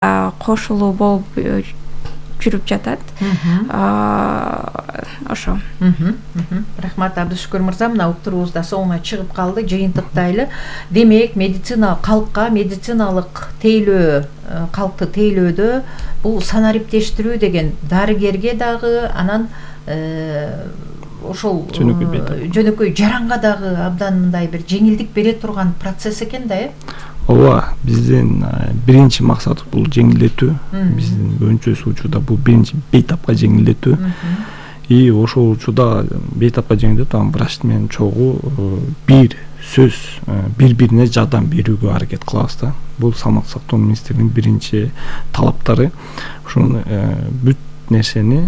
кошулуу болуп жүрүп жатат. Ошо. Рахмат Абдышүкүр мырза, мына уктуруубузда соңуна чыгып калды. Жыйынтыктайлы. Демек, калкка медициналык тейлөө, калкты тейлөөдө бул санариптештирүү деген дарыгерге дагы, анан ошол жөнөкөй жаранга дагы абдан мындай бир жеңилдик бере турган процесс экен да, Ооба, биздин биринчи максат бул жеңилдетүү. Биздин көбүнчөсү учурда бул биринчи бейтапка жеңилдетүү. И ошол учурда бейтапка жеңилдетүү, анан врач менен чогуу бир сөз бири-бирине жардам берүүгө аракет кылабыз да. Бул саламаттык сактоо министрлигинин биринчи талаптары. Ошону бүт нерсени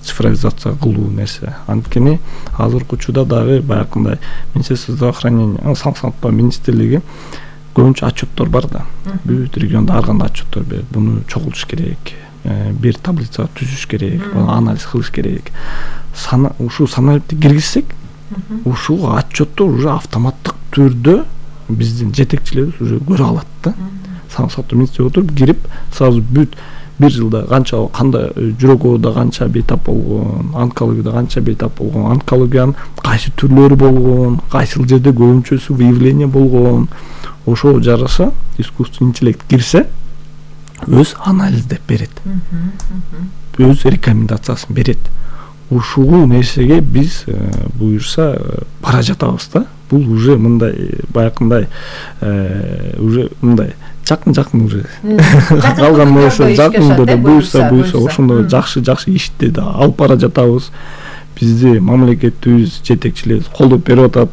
цифровизация кылуу нерсе. Анткени азыркы учурда дагы баягындай Министерство здравоохранения, Саламаттык сактоо министрлиги көбүнчө отчеттор бар да. Бүт региондо ар кандай отчеттор берет. Буну чогултуш керек. Бир таблица түзүш керек, анализ кылыш керек. Ушул санарипти киргизсек, ушул отчеттор уже автоматтык түрдө биздин жетекчилерибиз уже көрө алат да. Саламаттык сактоо министрлиги отуруп кирип, сразу бүт бир жылда канча, кандай жүрөк ооруда канча бейтап болгон, онкологияда канча бейтап болгон, онкологиянын кайсы түрлөрү болгон, кайсыл жерде көбүнчөсү выявление болгон, ошого жараша искусственный интеллект кирсе, өз анализдеп берет. Өз рекомендациясын берет. Ушул нерсеге биз буюрса бара жатабыз да. Бул уже мындай баягындай уже мындай жакын уже калган нерсе жакында буюрса ошондой жакшы иштерди алып бара жатабыз. Бизди мамлекетибиз жетекчилери колдоп берип атат.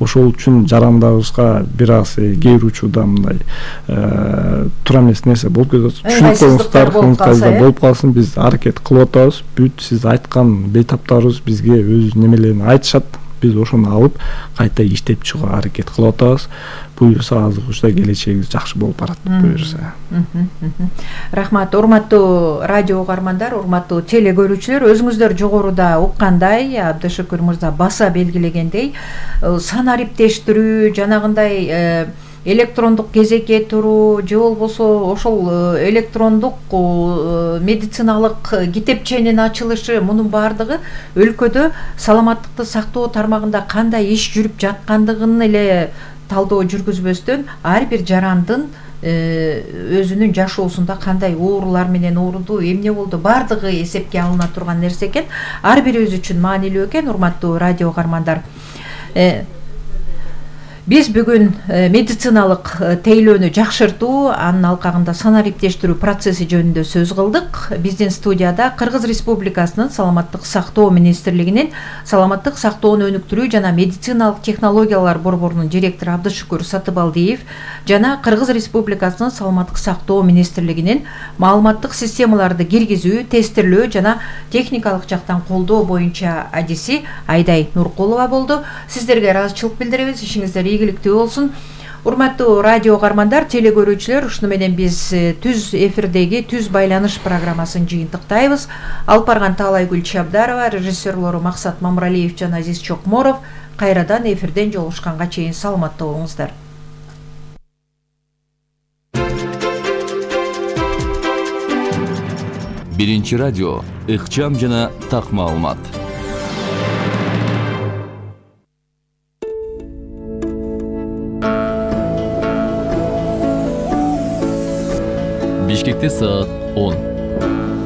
Ошол үчүн жарандабызга бир аз кээ бир учурда мындай туура эмес нерсе болуп кетет. Түшүнүп коюңуздар, болуп калсын, биз аракет кылып атабыз. Бүт сиз айткан бейтаптарыбыз бизге өз немелерин айтышат. Биз ошону алып кайта иштеп чыгууга аракет кылып атабыз. Буюрса азыркы учурда келечегибиз жакшы болуп барат, буюрса. Рахмат, урматтуу радио угармандар, урматтуу теле көрүүчүлөр, өзүңүздөр жогоруда уккандай, Абдышүкүр мырза баса белгилегендей, санариптештирүү, жанагындай электрондук кезекке туруу же болбосо ошол электрондук медициналык китепченин ачылышы, мунун баардыгы өлкөдө саламаттыкты сактоо тармагында кандай иш жүрүп жаткандыгын эле талдоо жүргүзбөстөн, ар бир жарандын өзүнүн жашоосунда кандай оорулар менен ооруду, эмне болду, баардыгы эсепке алына турган нерсе экен. Ар бирибиз үчүн маанилүү экен, урматтуу радио угармандар. Биз бүгүн медициналык тейлөөнү жакшыртуу, анын алкагында санариптештирүү процесси жөнүндө сөз кылдык. Биздин студияда Кыргыз Республикасынын Саламаттык сактоо министрлигинин Саламаттык сактоону өнүктүрүү жана медициналык технологиялар борборунун директору Абдышүкүр Сатыбалдиев жана Кыргыз Республикасынын Саламаттык сактоо министрлигинин маалыматтык системаларды киргизүү, тестирлөө жана техникалык жактан колдоо боюнча адиси Айдай Нуркулова болду. Сиздерге ыраазычылык билдиребиз. Ишиңиздер ийгиликтүү болсун. Урматтуу радио угармандар, теле көрүүчүлөр, ушуну менен биз түз эфирдеги түз байланыш программасын жыйынтыктайбыз. Алып барган Таалай Гүл Чабдарова, режиссерлору Максат Мамралиев жана Азиз Чокморов. Кайрадан эфирден жолугушканга чейин саламатта болуңуздар. Биринчи радио, ыкчам жана так маалымат. Бишкекте саат 10.